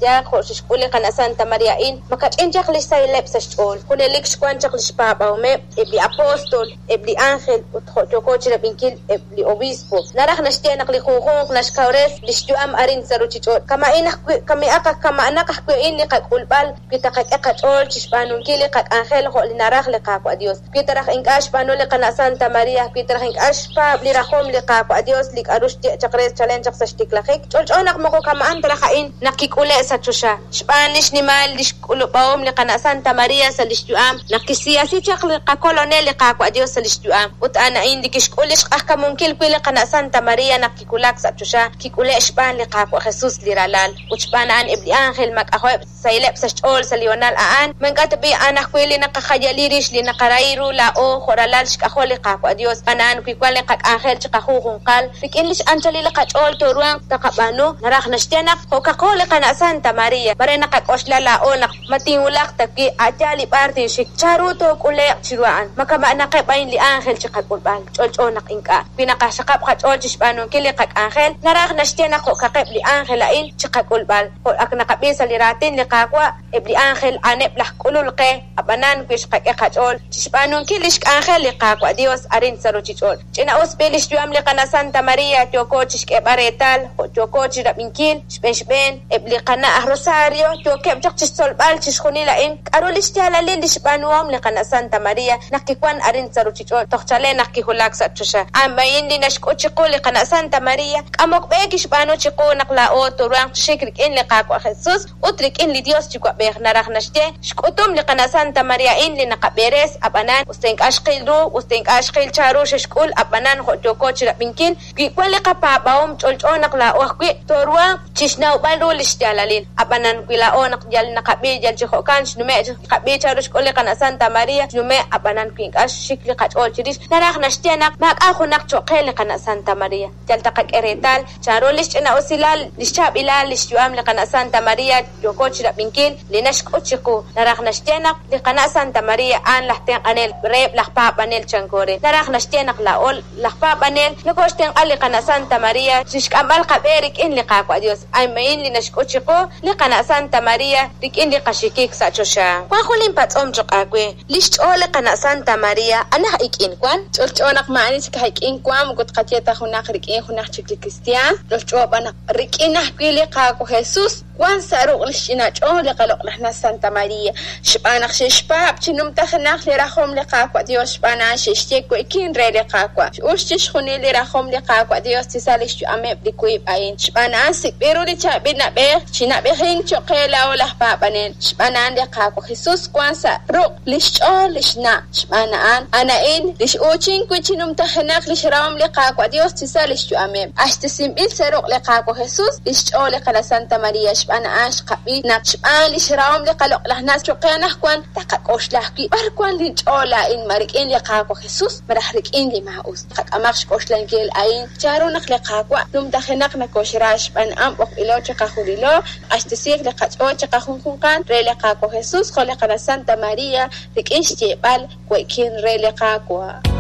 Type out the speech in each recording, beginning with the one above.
Yaaq jo' xe'xk'ul li qana' Santa Maria a'in, makach'in chaq li xsahileb' sa' xch'ool. Junelik xwank chaq li xpaab'ahomeb' eb' li apóstol, eb' li ánjel ut jo' yooko chi rab'inkil eb' li obispo. Naraj naxye naq li junjunq naxkawres li xyu'am arin sa' ruuchich'och'. Kama'in ajwi' kami'aq kama'anaq ajwi' a'in li qak'ulb'al wi taqak'e qach'ool chi xb'aanunkil li qak'anjel jo' li naraj li Qaawa' Dios. Wi ta raj ink'a' xb'aanu li qana' Santa Maria, wi ta raj ink'a' xpaab' li rajom li Qaawa' Dios li k'a'ru xye chaq re chalen chaq sa' xtiklajik, ch'olch'o naq moko kama'an ta raj a'in naq kik'ule' sa' choxa. Xb'aan li xnimal lix k'ulub'ahom li qana' Santa Maria sa' lix yu'am, naq kixsiyasi chaq li qaKolonel li Qaawa' Dios sa' lix yu'am, ut a'an a'in li kixk'ul lix q'ajkamunkil wi' li qana' Santa Maria naq kiwulak sa' choxa, kik'ule' xb'aan li Qaawa' Jesus li Ralal, ut xb'aan a'an eb' li ánjel mak'ajo'eb' sahileb' sa' xch'ool sa' li honal a'an, ma ink'a' tab'i' a'an ajwi' li naqajayali rix li naqarahi ru laa'o jo' ralal xk'ajol li Qaawa' Dios, xb'aan a'an wi wan li qak'anjel chiqajunjunqal, rik'in lix anchalil li qach'ool tooruhanq taqab'aanu, naraj naxye naq jo'kaqo li qana' Santa Maria, mare naqak'oxla laa'o naq ma tinwulaq ta wi' a' yaal li b'ar tinxik, chanru took'ule'q chiru a'an, ma kama'naqeb' a'in li ánjel chiqak'ulb'al, ch'olch'o naq ink'a'. Wi naqaxaqab' qach'ool chixb'aanunkil li qak'anjel, naraj naxye naq jo'kaqeb' li ánjel a'in chiqak'ulb'al. Jo' ak naqab'i sa' li raatin li Qaawa', eb' li ánjel a'aneb' laj k'ulul qe, ab'anan wi xqak'e qach'ool chixb'aanunkil lix k'anjel li Qaawa' Dios arin sa' ruchich'och'. Ch'ina-us b'i lix yu'am li qana' Santa Maria yooko chixk'eeb'al reetal jo' yooko chirab'inkil xb'een xb'een eb' li qana' aj Rosario yookeb' chaq chixtzolb'al chixjunil a'in k'a'ru lix yaalalil lix b'aanuhom li qana' Santa Maria naq kiwan arin sa' ruchich'och' toj chalen naq kiwulak sa' choxa. A'an a'in li naxk'ut chiqu li qana' Santa Maria, k'amok b'e kixb'aanu chiqu naq laa'o tooruhanq chi xik rik'in li Qaawa' Jesus ut rik'in li Dios Yuwa'b'ej. Naraj naxye, xk'utum li qana' Santa Maria a'in li naqab'eres, ab'anan, us ta ink'a' xqil ru, us ta ink'a' xqil chanru xe'xk'ul, ab'anan jo' yooko chirab'inkil, wi wan li qapaab'ahom ch'olch'o naq laa'o ajwi' tooruhanq chixnawb'al ru lix yaalalil. Ab'anan, wi laa'o naq yal naqab'i yal chi jo'kan xnume' xqab'i chanru xk'ul li qana' Santa Maria xnume', ab'anan wi ink'a' xxik li qach'ool chirix, naraj naxye naq maak'a' junaq cho'q qe li qana' Santa Maria. Yal taqak'e reetal chanru lix ch'ina'usilal, lix chaab'ilal lix yu'am li qana' Santa Maria yooko chirab'inkil li naxk'ut chiqu. Naraj naxye naq li qana' Santa Maria a'an laj tenq'anel reheb' laj paab'anel chanko re. Naraj naxye naq laa'o laj paab'anel nokooxtenq'a li qana' Santa Maria chixk'amb'al qab'e rik'in li Qaawa' Dios. A'in li naxk'ut chiqu li qana' Santa Maria rik'in li qaxikik sa' choxa. Wan jun linpatz'om cho'q aawe, li xch'ool li qana' Santa Maria anaj ik'in wan? Ch'olch'o naq maa'ani chik aj ik'in wan, moko tqaye ta junaq rik'in junaq chik li kristiaan, ch'olch'o b'an naq rik'in ajwi' li Qaawa' Jesus wan sa' ruq' li xch'ina ch'ool li qaloq'laj na' Santa Maria, xb'aan naq xe'xpaab' chi numtajenaq li rajom li Qaawa' Dios, xb'aan a'an xe'xye we'kin re li Qaawa'. X'ux chixjunil li rajom li Qaawa' Dios chi sa' lix yu'ameb' li wiib' a'in. Xb'aan a'an sik'b'il ru li chaab'il na'b'ej chi na'b'ejink choq' qe laa'o laj paab'anel. Xb'aan a'an li Qaawa' Jesus wan sa' ruq' lix ch'ool lix na'. Xb'aan a'an, a'an a'in li x'uuchink wi' chi numtajenaq lix rahom li Qaawa' Dios chi sa' lix yu'ameb'. Q'axtesinb'il sa' ruq' li Qaawa' Jesus lix ch'ool li qana' Santa Maria. Xb'aan a'an xqab'i naq xb'aan lix rahom li qaloq'laj na' choq' qe anajwan, taqak'oxla ajwi' b'ar wan lin ch'ool laa'in, ma rik'in li Qaawa' Jesus malaj rik'in li maa'us. Qak'amaq xk'oxlankil a'in, chanru naq li Qaawa' numtajenaq nokoxra xb'aan a'an b'oqb'ilo chiqajunilo, q'axtesiiq li qach'ool chiqajunjunqal re li Qaawa' Jesus jo' li qana' Santa Maria rik'in xyeeb'al we'kin re li Qaawa'.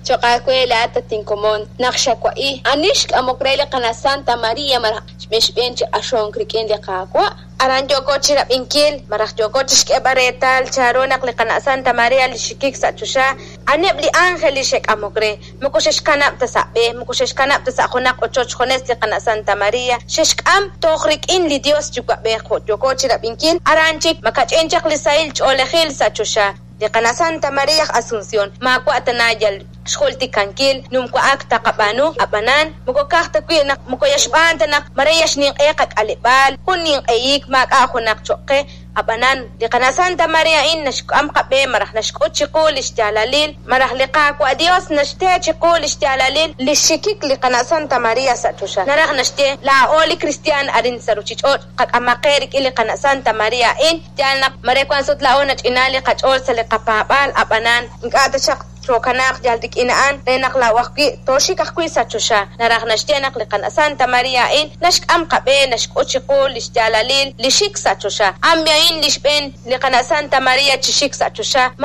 Cho'q aawe laa'at, at inkomon, naq xawa'i, ani xk'amok re li qana' Santa Maria malaj xb'een xb'een chi q'axonk rik'in li Qaawa'? Aran yooko chirab'inkil malaj yooko chixk'eeb'al reetal chanru naq li qana' Santa Maria li xxikik sa' choxa, a'aneb' li ánjel li xe'k'amok re. Moko xe'xkanab' ta sa' b'e, moko xe'xkanab' ta sa' junaq ochoch junes li qana' Santa Maria, xe'xk'am toj rik'in li Dios Yuwa'b'ej jo' yooko chirab'inkil, aran chik makach'in chaq li sahil ch'oolejil sa' choxa. Li qana' Santa Maria aj Asunción maawa' tana yal xjultikankil numwa'ak taqab'aanu, ab'anan moko ka'aj ta wi' naq moko yal xb'aan ta naq mare yal xninq'e qak'aleb'aal, jun ninq'ehik maak'a' junaq cho'q qe, ab'anan li qana' Santa Maria a'in naxk'am qab'e malaj naxk'ut chiqu li xyaalalil, malaj li Qaawa' Dios naxte chiqu li xyaalalil li xxikik li qana' Santa Maria sa' choxa. Naraj naxye, laa'o li kristiaan arin sa' ruchich'och' qak'amaq qe rik'in li qana' Santa Maria a'in, yaal naq mare wank sut laa'o nach'ina li qach'ool sa' li qapaab'aal, ab'anan ink'a' taxaq tookanaaq yal rik'in a'an re naq laa'o ajwi' tooxik ajwi' sa' choxa. Naraj naxye naq li qana' Santa Maria a'in naxk'am qab'e, naxk'ut chiqu li xyaalalil li xik sa' choxa. A'an a'in li xb'een li qana' Santa Maria chi xik sa' choxa.